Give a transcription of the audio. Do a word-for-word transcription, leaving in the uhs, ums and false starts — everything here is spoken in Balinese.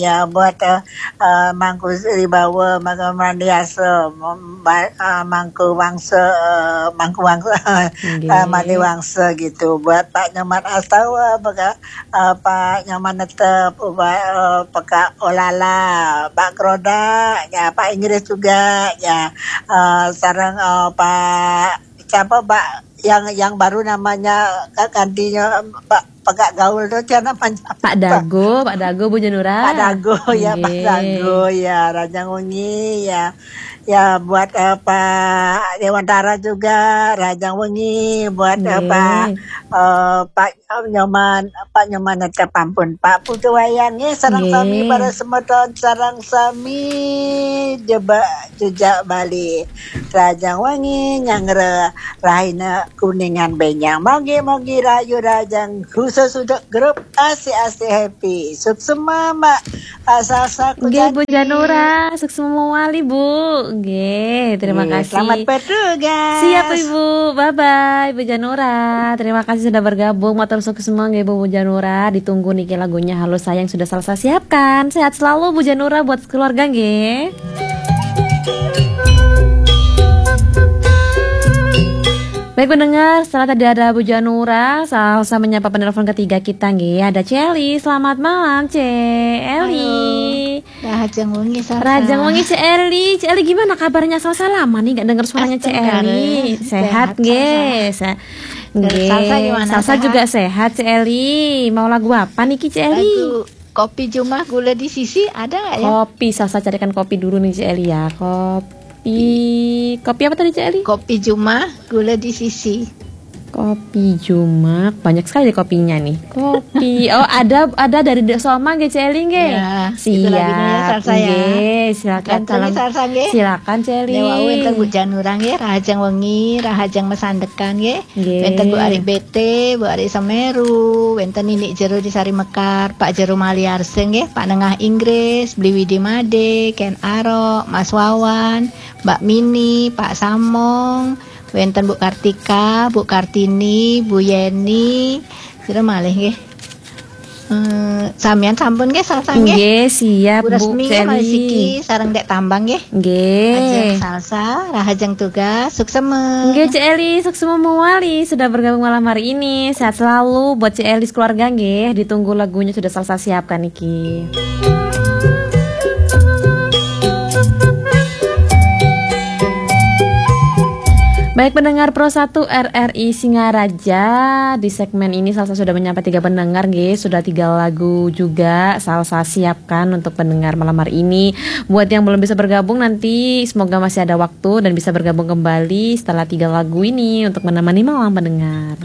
Ya, buat uh, uh, Mangku Ribawa, Mangku Mandiasa, Mangku Wangsa, uh, Mangku Wangsa, uh, Mandi Wangsa gitu. Buat Pak Nyoman Astawa, Pak uh, Pak Nyoman Netep, Pak uh, Peka Olala, Pak Kroda, ya Pak Inggris juga, ya uh, sarang uh, Pak siapa Pak yang yang baru namanya gantinya Pak pegak gaul tu siapa namanya? Pak Dago, Pak Dago Bu Janura. Pak Dago ya, Pak Dago ya, Rajang Wengi ya. Ya buat uh, Pak Dewantara juga, Rajang Wengi, buat uh, Pak uh, Pak Nyoman, Pak Nyoman Netep ampun, Pak Putu Wayang ya, sarang sami para semeton, sarang sami jebak jejak Bali. Rajang Wengi nyangre rahina Kuningan Benyang. Mogi-mogi rayu rajang khusus untuk grup Asik-asik happy. Suksema Mak Asal-asal Nggih Bu Janura, suksema mawali Bu. Nggih, terima kasih. Selamat bertugas. Siap Ibu. Bye bye Bu Janura. Terima kasih sudah bergabung. Matur suksema nggih Bu Janura. Ditunggu niki lagunya Halo Sayang sudah Salsa siapkan. Sehat selalu Bu Janura buat keluarga nggih. Baik pendengar, setelah tadi ada Bu Janura, Salsa menyapa penelpon ketiga kita nggih. Ada Celi. Selamat malam, Celi. Rahajeng wengi, Salsa. Rahajeng wengi, Celi. Celi, gimana kabarnya? Salsa lama nih nggak dengar suaranya Celi. Sehat nggih. Nggih. Salsa gimana? Salsa juga sehat, Celi. Mau lagu apa nih, Celi? Kopi Jumah gula di sisi ada nggak ya? Kopi, Salsa carikan kopi dulu nih Celi ya. Kopi, kopi apa tadi Celi? Kopi Jumah gula di sisi. Kopi Jumah, banyak sekali kopinya nih. Kopi, oh ada ada dari Dek Soma nggih Celi nggih. Ya, siap. Ya, Salsa ya. Nggih, silakan. Salsa nggih. Silakan Celi. Dewa wenten Bu Janurang nggih, Rahajeng wengi, Rahajeng mesandekan nggih. Wenten Bu Ari B T, Bu Ari Semeru, wenten Nini Jero di Sari Mekar, Pak Jero Maliarse nggih, Pak Nengah Inggris, Bli Widi Made, Ken Arok, Mas Wawan, Mbak Mini, Pak Samong, wenten Bu Kartika, Bu Kartini, Bu Yeni, sira malih nggih. Eh, samian sampun nggih Salsa nggih. Nggih, siap Bu Resmi Celi. Siki sareng Dek Tambang nggih. Nggih. Ajeng Salsa, Rahajeng tugas, suksema. Nggih Celi, suksema mawali sudah bergabung malam hari ini. Sehat selalu buat Celi sekeluarga nggih. Ditunggu lagunya sudah Salsa siapkan niki. Baik pendengar Pro satu R R I Singaraja, di segmen ini Salsa sudah menyapa tiga pendengar nggih, sudah tiga lagu juga Salsa siapkan untuk pendengar malam hari ini. Buat yang belum bisa bergabung nanti semoga masih ada waktu dan bisa bergabung kembali setelah tiga lagu ini untuk menemani malam pendengar.